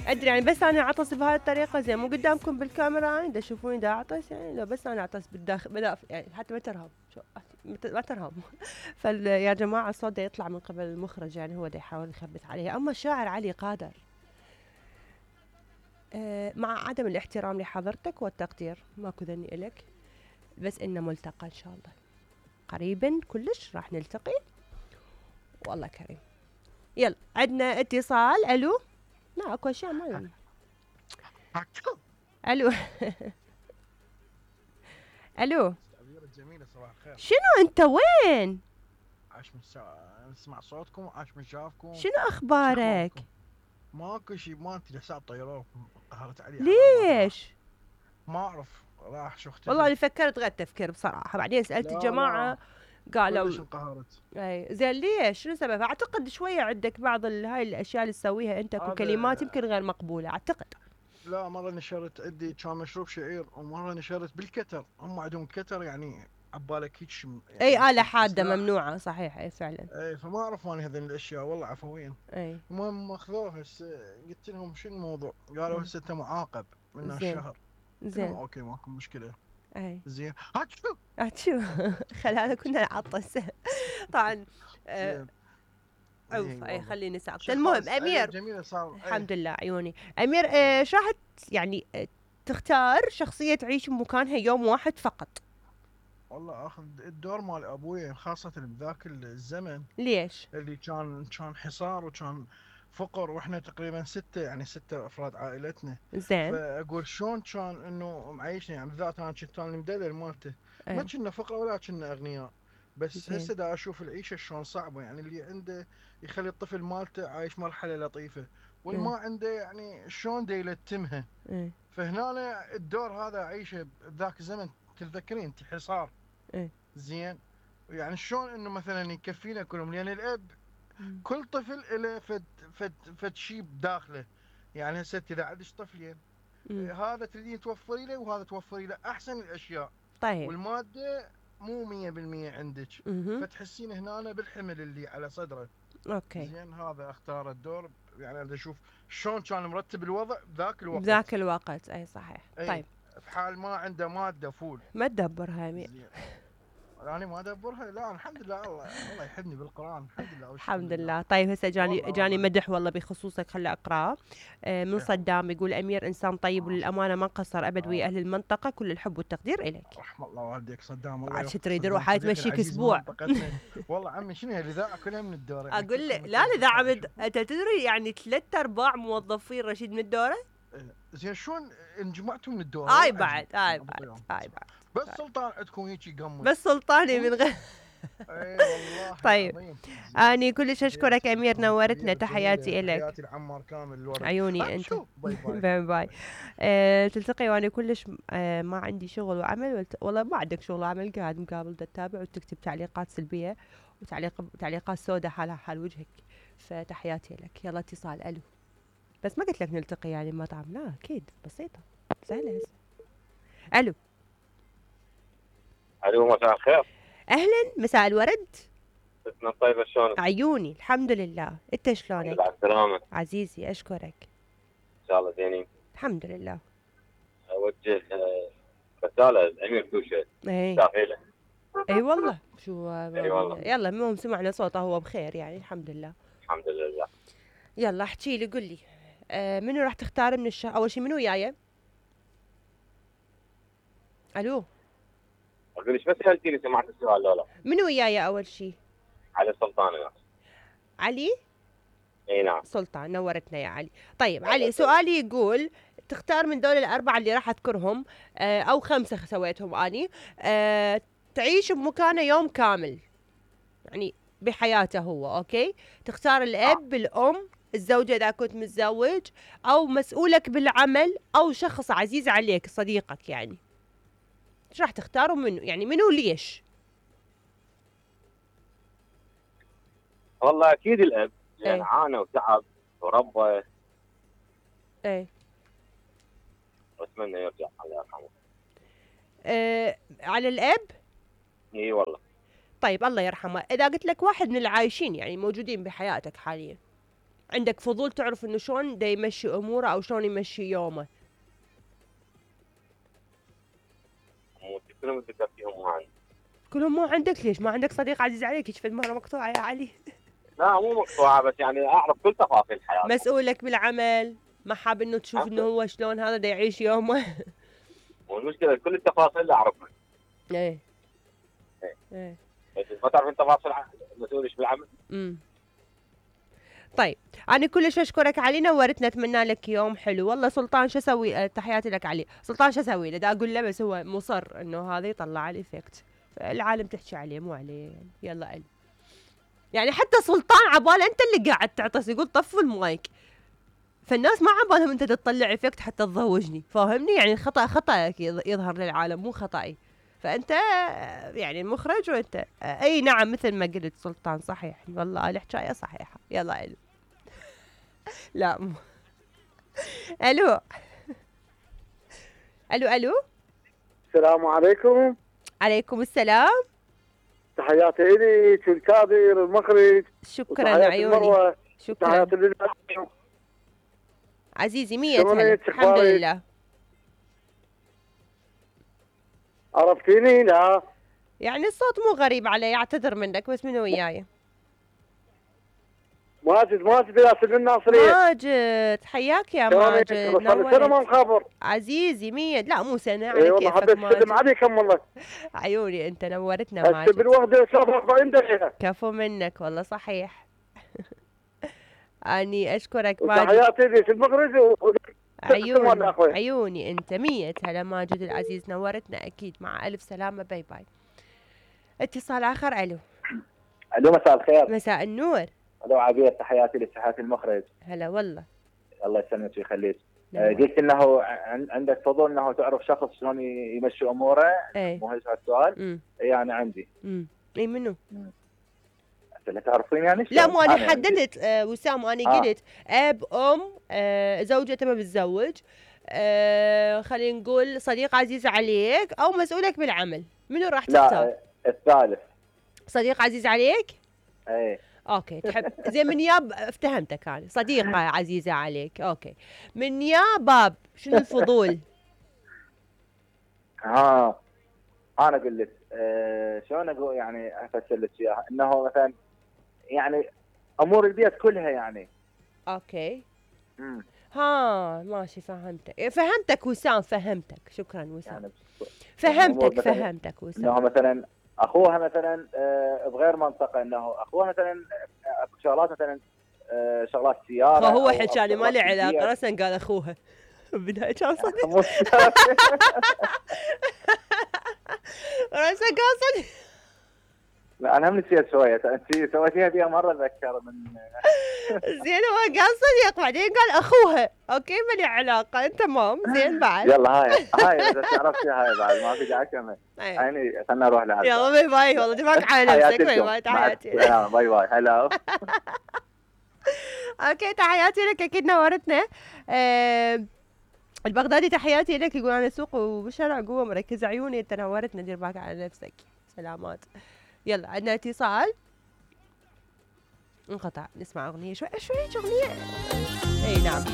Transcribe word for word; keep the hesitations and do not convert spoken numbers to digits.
ادري يعني بس انا اعطس بهاي الطريقه زين مو قدامكم بالكاميرا يعني دا تشوفوني دا اعطس يعني لو بس انا اعطس بالداخل بدأ يعني حتى ما ترهب شو ما ترهب فيا جماعه الصوت دا يطلع من قبل المخرج يعني هو دا يحاول يخبط عليه. اما الشاعر علي قادر أه مع عدم الاحترام لحضرتك والتقدير ماكو ذني إلك، بس إنه ملتقى إن شاء الله قريبا كلش راح نلتقي والله كريم. يلا عندنا اتصال. الو لا اكو اشياء ما الو الو جميلة صباح الخير. شنو انت وين؟ عاش من سا... نسمع صوتكم عاش من شافكم. شنو اخبارك؟ ماكو شي ما انت حساب طيروه قهرت علي. ليش؟ ما اعرف راح شو اختفى. والله اللي فكرت غير تفكير بصراحة بعدين سألت الجماعة قالوا ليش انقهرت؟ اي زين ليش؟ شنو السبب؟ اعتقد شوية عندك بعض هاي الاشياء اللي تسويها انت وكلمات يمكن غير مقبولة اعتقد. لا مرة نشرت عندي كان مشروب شعير ومرة نشرت بالكتر، هم عندهم كتر يعني عبالك هيك يعني اي آلة حادة ممنوعة صحيح. اي فعلا. اي فما اعرف اني هذين الاشياء والله عفويا. اي المهم اخذوه هسه قلت لهم شو الموضوع؟ قالوا هسه انت معاقب من الشهر. زين اوكي ماكو مشكلة. اي زين هاتشو هاتشو خل هذا كنا نعطس طبعا. آه اوف اي خليني ساكت. المهم امير جميلة صار الحمد لله عيوني. امير آه شو راح يعني آه تختار شخصية تعيش بمكانها يوم واحد فقط؟ والله اخذ الدور مال ابوي خاصة بذاك الزمن. ليش؟ اللي كان كان حصار وكان فقر واحنا تقريبا ستة يعني ستة افراد عائلتنا. زين فاقول شلون كان انه معيشني يعني بالذات انا كنت انا المدلل مالته. ما كنا فقراء ولا كنا اغنياء. بس هسه دا اشوف العيشه شلون صعبه يعني اللي عنده يخلي الطفل مالته عايش مرحله لطيفه واللي ما عنده يعني شلون دا يلتمها. ايه. فهنا الدور هذا عيشه بذاك الزمن تتذكرين انت حصار. ايه. زين يعني شلون انه مثلا يكفينا كلهم لان الاب مم. كل طفل له فد فد فد شيء بداخله. يعني هسه اذا عندك طفلين هذا تريدين توفري له وهذا توفري له احسن الاشياء. طيب والماده مو مية بالمية عندك. مم. فتحسين هنا بالحمل اللي على صدره. اوكي زين هذا اختار الدور يعني انا اشوف شلون كان مرتب الوضع بذاك الوقت. بذاك الوقت اي صحيح. أي. طيب في حال ما عنده ماده فول ما تدبرها يمين. يعني ما ادبرها. لا الحمد لله الله الله يحبني بالقران الحمد لله. الحمد لله. طيب هسه جاني جاني مدح والله بخصوصك خلي اقراه آه من صدام يقول امير انسان طيب وللامانه ما قصر ابد ويا اهل المنطقه كل الحب والتقدير اليك. رحم الله والديك صدام الله عاد تريد روح هاي تمشيك اسبوع. والله عمي شنو الاذاعه كلها من الدوره يعني اقول لك لا الاذاعه من انت تدري يعني ثلاث ارباع موظفين رشيد من الدوره. زين شلون انجمعتوا من الدوره؟ هاي بعد هاي بعد هاي بعد بس سلطان عندكم هيك يقمص. بس سلطاني من غير اي والله. طيب اني كلش اشكرك امير نورتنا. تحياتي لك. تحياتي العمار كامل الورد. عيوني انت. باي باي باي باي. أه تلتقي وانا كلش أه ما عندي شغل وعمل والت... والله ما عندك شغل وعمل قاعد مقابل تتابع وتكتب تعليقات سلبيه وتعليق تعليقات سوداء حالها حال وجهك. فتحياتي لك. يلا اتصال. الو بس ما قلت لك نلتقي يعني مطعم لا اكيد بسيطه سهله هسه. الو الو مساء الخير. اهلا مساء الورد. اسمك طيبه شلونك؟ عيوني الحمد لله. انت شلونك؟ على السلامه عزيزي اشكرك. ان شاء الله زينين الحمد لله. اوجه رساله لامير توشه اي شافيله. اي والله شو اي والله. يلا المهم سمعنا صوته هو بخير يعني الحمد لله. الحمد لله. يلا احكي لي قل لي آه منو راح تختار من الشهر اول شيء منو وياي؟ الو اقول لك بس سالتيني سمعت السؤال لا لا. منو وياي اول شيء؟ علي سلطان يا علي. اي نعم سلطان نورتنا يا علي. طيب علي سؤالي يقول تختار من دول الاربعه اللي راح اذكرهم آه او خمسه سويتهم اني آه تعيش بمكانه يوم كامل يعني بحياته هو. اوكي تختار الاب الام الزوجه اذا كنت متزوج او مسؤولك بالعمل او شخص عزيز عليك صديقك يعني ايش راح تختاروا منه يعني منو ليش؟ والله اكيد الاب لان ايه. عانى وتعب وربى. ايه واتمنى يرجع الله يرحمه. آه على الاب؟ اي والله. طيب الله يرحمه. اذا قلت لك واحد من العايشين يعني موجودين بحياتك حاليا عندك فضول تعرف انه شلون دا يمشي اموره او شلون يمشي يومه؟ مو كلهم ذكر فيهم ما عندي. كلهم مو عندك؟ ليش ما عندك صديق عزيز عليك هيك فد مره مقطوعه يا علي؟ لا مو مقطوعه، بس يعني اعرف كل تفاصيل حياته. مسؤولك بالعمل، ما حاب انه تشوف انه هو شلون هذا دا يعيش يومه؟ والمشكله كل التفاصيل اللي اعرفها. ايه ايه ايه بس ما تعرف انت تفاصيل المسؤول ايش بالعمل. امم طيب انا كلش اشكرك علي، نورتنا، اتمنى لك يوم حلو. والله سلطان شو اسوي؟ أه تحياتي لك علي. سلطان شو اسوي له؟ دا اقول له بس هو مصر انه هذا يطلع الايفكت، العالم تحكي عليه مو عليه يعني. يلا علي، يعني حتى سلطان عباله انت اللي قاعد تعطس، يقول طفوا المايك، فالناس ما عبالهم انت تطلع افكت حتى تضوجني، فاهمني؟ يعني الخطا خطأك يظهر للعالم مو خطأي، فانت يعني المخرج وانت اي نعم مثل ما قلت سلطان صحيح، والله الحكايه صحيحه. يلا الو. لا مو الو الو الو. السلام عليكم. عليكم السلام. تحياتي لي الكادر المخرج. شكرا عيوني. شكرا تحياتي لله عزيزي. مية هلا. الحمد لله. عرفتيني؟ لا يعني الصوت مو غريب علي، اعتذر منك، بس منو وياي؟ ماجد. ماجد ياسر الناصرية. ماجد حياك يا ماجد. صار سنة ما مخابر عزيزي. مية لا مو سنة على اي والله كيفك حبيت ماجد. اسلم عليكم والله. عيوني انت نورتنا ماجد. هسه بالوحدة صار أربعين دقيقة. كفو منك والله صحيح. اني اشكرك ماجد. تحياتي لي في المخرج و... عيوني عيوني انت. مية هلا ماجد العزيز، نورتنا اكيد. مع الف سلامة. باي باي. اتصال اخر. الو. الو مساء الخير. مساء النور. الو عبير، تحياتي لتحياتي المخرج. هلا والله. الله يسلمك ويخليك. آه قلت انه عندك فضول انه تعرف شخص شلون يمشي اموره. ايه مو هيك السؤال. يعني عندي. امم اي منو؟ لا تعرفين يعني؟ لا مو انا حددت آه وسام، انا آه. قلت اب ام آه زوجة ما بتزوج آه خلينا نقول صديق عزيز عليك او مسؤولك بالعمل، منو راح تختار؟ لا الثالث. صديق عزيز عليك؟ ايه اوكي تحب زين من ياب افتهمتك انا، صديقة عزيزة عليك. اوكي من يا باب شنو الفضول؟ ها انا اقول لك آه شلون اقول يعني افسر لك اياها، انه مثلا يعني امور البيت كلها يعني. اوكي امم ها ماشي فهمتك. فهمتك وسام، فهمتك. شكرا وسام. يعني فهمتك فهمتك وسام. انه مثلا اخوها مثلا آه بغير منطقه، انه اخوها مثلا اكو شغلات مثلا آه شغلات سياره. فهو حكاني ما لي علاقه، راسا قال اخوها بالبدايه كان صديق. راسا قال صديق. لا انا هم نسيت شويه، انت سويتيها بيها مره اتذكر من. زين هو قال صديق بعدين قال اخوها. اوكي ما لي علاقه. تمام زين بعد. يلا هاي هاي اذا تعرفتي هاي بعد ما في داعي كمل. يعني خلنا نروح لهذا. يلا باي باي. والله دماغك على نفسك. باي باي. تحياتي. باي باي. هلا. اوكي تحياتي لك اكيد نورتنا. أه البغدادي تحياتي لك، يقول انا سوق وبالشارع قوه مركز عيوني. انت نورتنا، دير بالك على نفسك. سلامات. يلا عندنا اتصال. انقطع. نسمع اغنيه شوي شوي اغنيه. اي نعم.